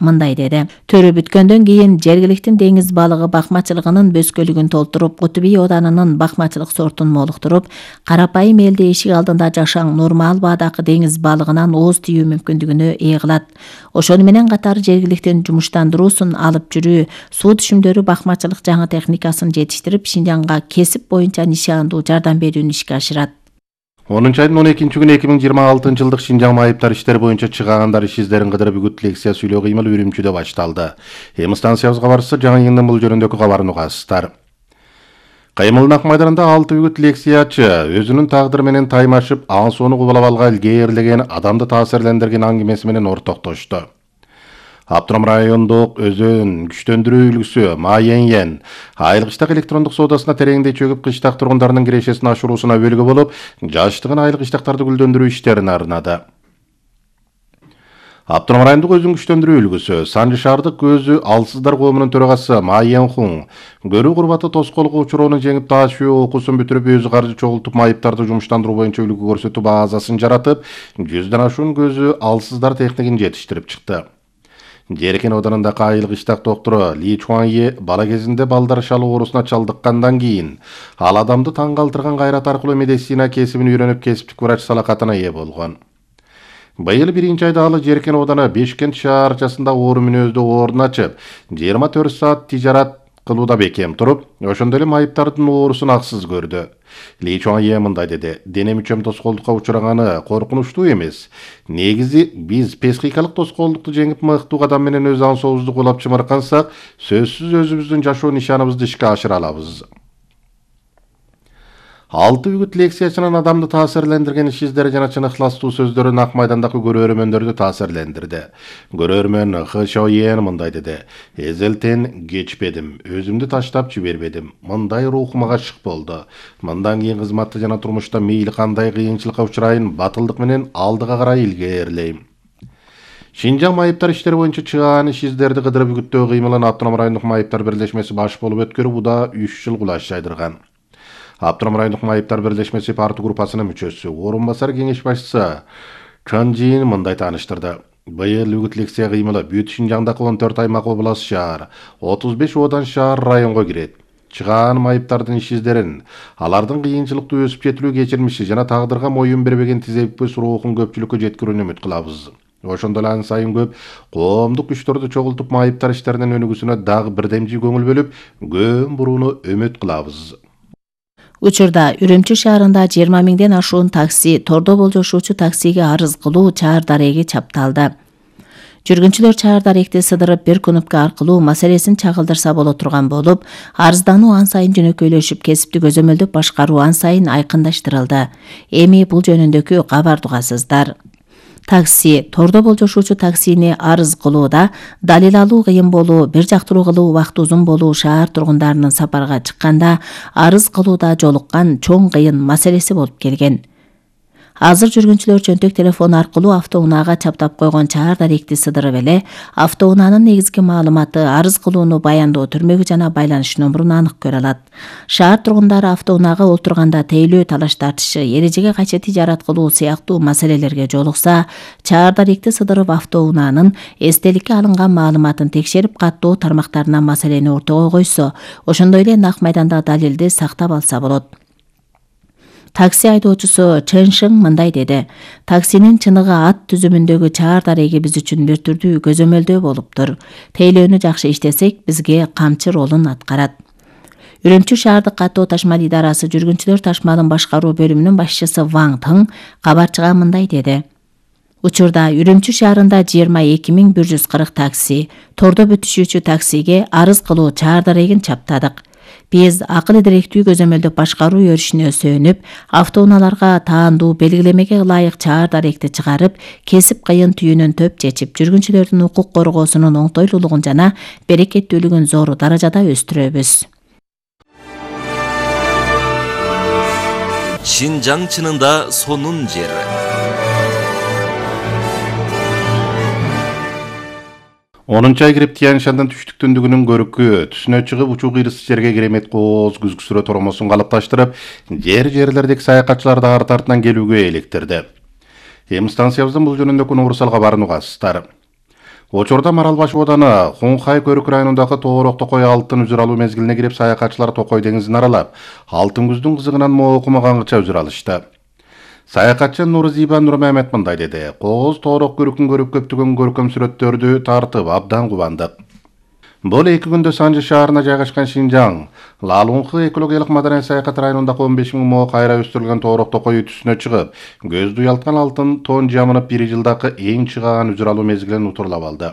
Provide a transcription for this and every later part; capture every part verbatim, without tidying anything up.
мындай деди. Төрө бүткөндөн кийин жергиликтин деңиз балыгы бакмачылыгынын бөскөлүгүн толтуруп, Кутуби оданынын бакмачылык сортун молуктуруп, карапайым элди эшик алдында жашаң нормал баадагы деңиз балыгынан ооз тийүү мүмкүндүгүнө ээ кылат. Ошону менен катар жергиликтин жумуштандыруусун алып жүрүү, суу түшүмдөрү бакмачылык жаңы техникасын жетиштирип, Шинжаңга кесип боюнча нишандуу жардам берүүнү ишке ашырат. онунчу айдын он экинчи күнү эки миң жыйырма алтынчы жылдык Шинжаң майыптар иштери боюнча чыгаандар иш издерин кыдырып үгүт лекция сүйлөө кыймыл Үрүмчүдө башталды. Эми станциябызга кабарчысы Жаңы Йыңдын бул жөнүндөгү кабарын угасыздар. Кыймылдын ак майданында алты үгүт лекциячы өзүнүн тагдыры менен таймашып, аң сууну кубалап алган илгээрлеген, адамды таасирлендирген аңгемеси менен ортоктошту. Автоном райондук өзөн күчтөндүрүү үлгүсү Маеньен айыл кыштак электрондук соодасына тереңдей чөгүп, кыштак тургундарынын кирешесин ашыруусуна өбөлгө болуп, жаштыгын айыл кыштактарды гүлдөндүрүү иштерине арнады. Автоном райондук өзөн күчтөндүрүү үлгүсү Санжы шаардык көзү алсыздар коомунун төрагасы Маен Хун көрүү курбаты тоскоолго учурууну жеңип, таашуу окуусун бүтүрүп, өзү каржы чогултуп, майыптарды жумуштандыруу боюнча үлгү көрсөтүү базасын жаратып, жүздөн ашуун көзү алсыздар техникин жетиштирип чыкты. Жеркен оданындагы айыл кыштак доктору Ли Чуанье бала кезинде балдар шалы оорусуна чалдыккандан кийин ал адамды таң калтырган кайрат аркылуу медицина кесибин үйрөнүп, кесиптик врач салакатына ээ болгон. Быйыл биринчи айда ал Жеркен оданы Бешкент шаарчасында оору мүнөздүү орун ачып, жыйырма төрт саат тижарат кылууда бекем туруп, ошондой эле майыптардын оорусун аксыз көрдү. Ли Чуанье мындай деди: дене мүчөм тоскоолдукка учураганы коркунучтуу эмес. Негизи биз психикалык тоскоолдукту жеңип, мыктуу кадам менен өз аң сообузду кулап чымыркансак, сөзсүз өзүбүздүн жашоо нишаныбызды ишке ашыра алабыз. Алты үгүт лекциячынын адамды таасирлендирген иш издери жана чын ыхластуу сөздөрү ак майдандагы көрөрмөндөрдү таасирлендирди. Көрөрмөн Хы Шоен мындай деди: эзелтен кечпедим, өзүмдү таштап жибербедим. Мындай рухум ачык болду. Мындан кийин кызматта жана турмушта мейли кандай кыйынчылыкка учурайын, батылдык менен алдыга карай илгээрлейм. Шинжаң майыптар иштери боюнча чыгаан иш издерди кыдырып үгүттөө кыймылын Автоном райондук майыптар бирлешмеси баш болуп өткөрүп, уда үч жыл кулаш жайдырган. Автоном райондук майыптар бирлешмеси партия группасынын мүчөсү, орун басар кеңеш башчысы Чан Жин мындай тааныштырды. Быйыл үгүт лекция кыймылы бүт Шинжаңдагы он төрт аймак, област, шаар, отуз беш одан, шаар, районго кирет. Чыгаан майыптардын иш издерин, алардын кыйынчылыктуу өсүп жетилүү кечирмиши жана тагдырга моюн бербеген тизеппис рухун көпчүлүккө жеткирүүнү үмүт кылабыз. Ошондой эле ан сайын көп коомдук күчтөрдү чогултуп, майыптар иштеринин өнүгүүсүнө дагы бирдемчи көңүл бөлүп, көн бурууну үмүт кылабыз. Учурда Үрүмчү шаарында жыйырма миңден ашуун такси, тордо болжошуучу таксиге арыз кылуу чаар дареги чапталды. Жүргүнчүлөр чаар даректи сыдырып, бир кнопка аркылуу маселесин чагылдырса боло турган болуп, арыздануу ан сайын жөнөкөйлөшүп, кесиптик өзөмөлдүк башкаруу ан сайын айкындаштырылды. Эми бул жөнүндөгү кабарды угасыздар. Такси, тордо болжошуучу таксини арыз кылууда далил алуу кыйын болуу, бир жактыруу кылуу убакыты узун болуу, шаар тургундарынын сапарга чыкканда арыз кылууда жолуккан чоң кыйын маселеси болуп келген. Азыр жүргүнчүлөр жөнтөк телефон аркылуу автоунаага чаптап койгон чаар даректи сыдырып эле, автоунаанын негизги маалыматы, арыз кылууну баяндоо түрмөгү жана байланыш номурун анык көрө алат. Шаар тургундары автоунаага олтурганда тейлөө, талаш тартышы, эрежеге кайчы тижарат кылуу сыяктуу маселелерге жолукса, чаар даректи сыдырып автоунаанын эстеликке алынган маалыматын текшерип, каттоо тармактарына маселени ортого койсо, ошондой эле нак майданда далилди сактап алса болот. Такси айдоочусу Чэн Шың мындай деди: таксинин чыныгы ат түзүмүндөгү чаар дареги биз үчүн бир түрдүү көзөмөлдөө болуптур. Тейлөөнү жакшы иштесек, бизге камчы ролун аткарат. Үрүмчү шаардык каттоо ташмал идарасы жүргүнчүлөр ташмалын башкаруу бөлүмүнүн башчысы Ваң Тың кабарчыга мындай деди: учурда Үрүмчү шаарында жыйырма эки миң бир жүз кырк такси, тордо бүтүшүүчү таксиге арыз кылуу чаар дарегин чаптадык. Биз акыл идиректүү көзөмөлдөп башкаруу өрүшүнө сөөнүп, автоунааларга таандуу белгилемеге ылайык чаар даректи чыгарып, кесип кыйын түйүнүн төп чечип, жүргүнчүлөрдүн укук коргоосунун оңтойлуулугун жана берекеттүүлүгүн зор даражада өстүрөбүз. Шинжаң чынында сонун жер. онунчу ай кирип Тянь Шаньдын түштүк-түндүгүнүн көрүкү түсүнө чыгып, учуу кыйрысы жерге керемет кооз күзгүсүрө тормосун калыпташтырып, жер-жерлердеги саякатчыларды арты артынан келүүгө электирди. Эми станциябыздын бул жөнүндөгү уурсал кабарын угасыздар. Учурда Маралбаш ооданы Хунхай Көрүк районундагы Тоорок Токой алтын үзүр алуу мезгилине кирип, саякатчылар Токой деңизин аралап, алтын күздүн кызыгынан моокумагангыча үзүр алышты. Саякатчы Нурзиба Нурмамет мындай деди: "Кооз Тоорок Көрүкүн көрүп көптөгөн көркөм сүрөттөрдү тартып абдан кубандык. Бул эки күндө Санжы шаарына жайгашкан Шинжаң, Лалунхы экологиялык маданий саякат районундагы он беш миң мо кайра өстүрүлгөн Тоорок Токой үтүсүнө чыгып, көздү уялткан алтын тон жамынып бир жылдагы эң чыгаан үзүр алуу мезгилин утурлап алды.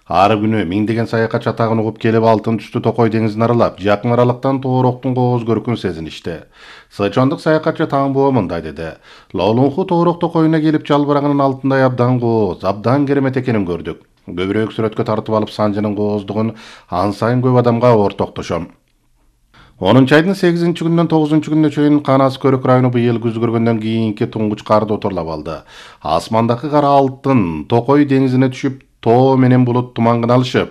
Ар күнү миңдеген саякатчы атагын угуп келип, алтын түстүү Токой деңизин аралап, жакын аралыктан Тоороктун кооз көркүн сезиништи. Сычондук саякатчы Таңбоо мындай деди: "Лолунху Тоорок Токойуна келип, жалбырагынын алтындай абдан кооз, абдан керемет экенин көрдүк. Көбүрөөк сүрөткө тартып алып, Санжынын кооздугун ан сайын көп адамга ортоктошом." онунчу айдын сегизинчи күнүнөн тогузунчу күнүнө чейин Канас Көрүк району быйыл күз көргөндөн кийинки туңгуч карды отурлап алды. Асмандагы кара алтын Токой деңизине түшүп, тоо менен булут тумангын алышып,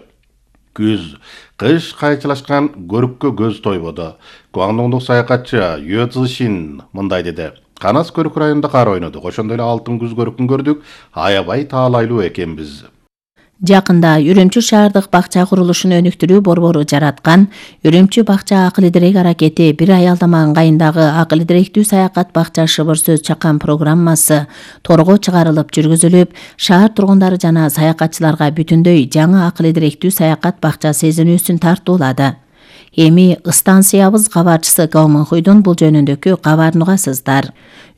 күз, кыш кайчылашкан көрүккө көз тойбоду. Гуандоңдук саякатчы Юэ Цзишин мындай деди: "Канас Көрүк районунда кар ойнодук, ошондой эле алтын күз көрүкүн көрдүк, аябай таалайлуу экенбиз." Жакында Үрүмчү шаардык бакча курулушун өнүктүрүү борбору жараткан Үрүмчү бакча акыл идирек аракети бир аялдама ыңгайындагы акыл идиректүү саякат бакча шыбыр сөз чакан программасы торго чыгарылып жүргүзүлүп, шаар тургундары жана саякатчыларга бүтүндөй жаңы акыл идиректүү саякат бакча сезинүүсүн тартуулады. Эми станциябыз кабарчысы Гаумынхуйдун бул жөнүндөгү кабарын угасыздар.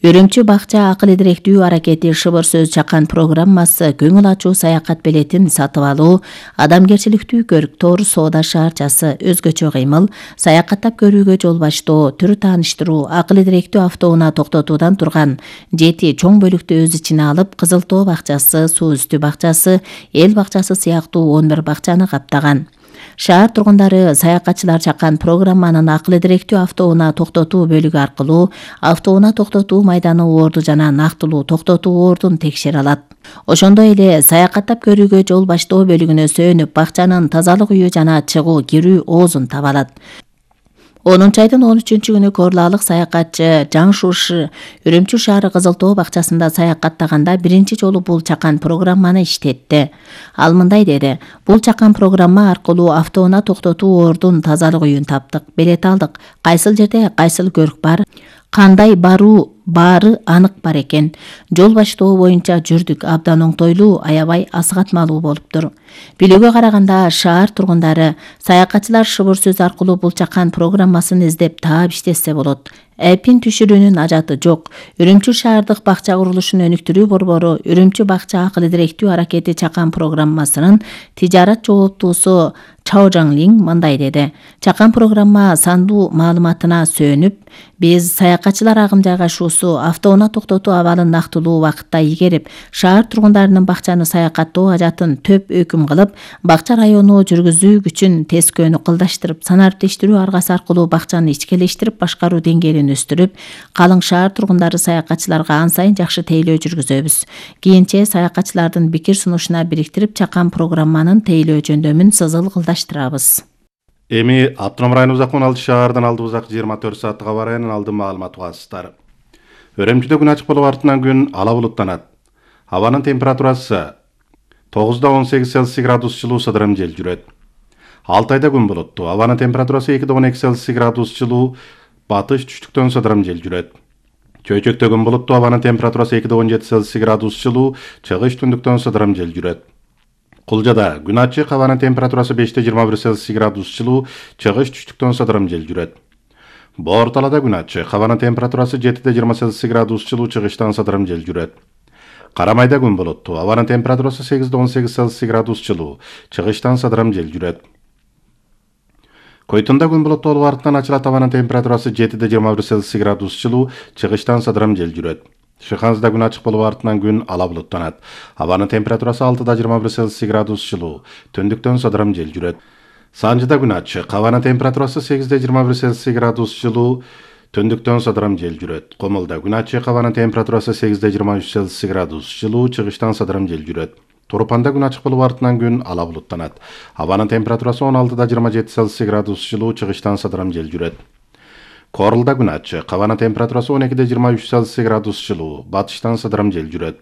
Үрүмчү бакча акыл идиректүү аракети шыбыр сөз чакан программасы көңүл ачуу саякат билетин сатып алуу, адамгерчиликтүү көрк, тоор соода шаарчасы, өзгөчө кыймыл, саякаттап көрүүгө жол баштоо, төр тааныштыруу, акыл идиректүү автоунаа токтотуудан турган жети чоң бөлүктү өз ичине алып, Кызыл Тоо бакчасы, Суу үстү бакчасы, Эл бакчасы сыяктуу он бир бакчаны каптаган. Шаар тургундары саякатчылар чакан программанын акыл идиректүү автоунаа токтотуу бөлүгү аркылуу автоунаа токтотуу майданы оорду жана нактылуу токтотуу оордун текшере алат. Ошондой эле саякаттап көрүүгө жол баштоо бөлүгүнө сөөнүп, бакчанын тазалык үйү жана чыгуу кирүү оозун таба алат. онунчу айдын он үчүнчү күнү Корлаалык саякатчы Жаң Шуши Үрүмчү шаары Кызыл Тоо бакчасында саякаттаганда биринчи жолу бул чакан программаны иштетти. Ал мындай деди: "Бул чакан программа аркылуу автоунаа токтотуу оордун тазалык үйүн таптык, билет алдык. Кайсыл жерде кайсыл көрк бар, кандай баруу баары анык бар экен. Жол баштоо боюнча жүрдүк, абдан оңтойлуу, аябай асыгатмалуу болуптур." Билүүгө караганда, шаар тургундары саякатчылар шыбыр сөз аркылуу бул чакан программасын издеп таап иштесе болот. Эпин түшүрүүнүн ажаты жок. Үрүмчү шаардык бакча курулушун өнүктүрүү борбору Үрүмчү бакча акыл идиректүү аракети чакан программасынын тижарат жооптуусу Чао Жаңлин мындай деди: "Чакан программа сандуу маалыматына сөөнүп, биз саякатчылар агым жайгашуусу, автоунаа токтотуу абалын нактылуу убакытта игерип, шаар тургундарынын бакчаны саякаттоо ажатын төп өкүм кылып, бакча району жүргүзүү күчүн тескөөнү кылдаштырып, санариптештирүү аргасы аркылуу бакчаны ичкелештирип башкаруу деңгээлин өстүрүп, калың шаар тургундары саякатчыларга ан сайын жакшы тейлөө жүргүзөбүз. Кийинче саякатчылардын пикир сунушуна бириктирип, чакан программанын тейлөө жөндөмүн сызыл кылдаштырабыз." Эми Автоном районубуздагы он алты шаардан алдыбыздагы жыйырма төрт сааттык аба районунун алдын маалыматы угасыздар. Үрүмчүдө күн ачык болуп, артынан күн ала булуттанат. Абанын температурасы тогузда он сегиз Цельсий градус жылуу сыдырым жел жүрөт. Алтайда күн булуттуу. Абанын температурасы экиде он эки Цельсий градус жылуу батыш түштүктөн сыдырым жел жүрөт. Чөйчөктө күн булуттуу. Абанын температурасы экиде он жети Цельсий градус жылуу чыгыш түндүктөн сыдырым жел жүрөт. Кулжада күн ачык. Абанын температурасы беште жыйырма бир Цельсий градус жылуу чыгыш түштүктөн сыдырым жел жүрөт. Борталада күн ачык. Абанын температурасы жетиде жыйырма Цельсий градус жылуу чыгыштан сыдырым жел жүрөт. Карамайда күн булуттуу. Абанын температурасы сегизде он сегиз Цельсий градус жылуу чыгыштан сыдырым жел жүрөт. Койтунда күн булуттуу болуп, артынан ачылат. Абанын температурасы жетиде жыйырма бир Цельсий градус жылуу чыгыштан сыдырым жел жүрөт. Шыханзда күн ачык болуп, артынан күн ала булуттанат. Абанын температурасы алтыда жыйырма бир Цельсий градус жылуу түндүктөн сыдырым жел жүрөт. Санжыда күн ачык. Абанын температурасы сегизде жыйырма бир Цельсий градус жылуу түндүктөн сыдырым жел жүрөт. Комулда күн ачык. Абанын температурасы сегизде жыйырма үч Цельсий градус жылуу чыгыштан сыдырым жел жүрөт. Турупанда күн ачык болуп, артынан күн ала булуттанат. Абанын температурасы он алтыда жыйырма жети Цельсий градус жылуу чыгыштан сыдырым жел жүрөт. Корулда күн ачык. Абанын температурасы он экиде жыйырма үч Цельсий градус жылуу батыштан сыдырым жел жүрөт.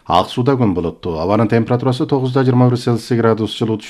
Ак Сууда күн булуттуу. Абанын температурасы тогузда жыйырма бир Цельсий градус жылуу.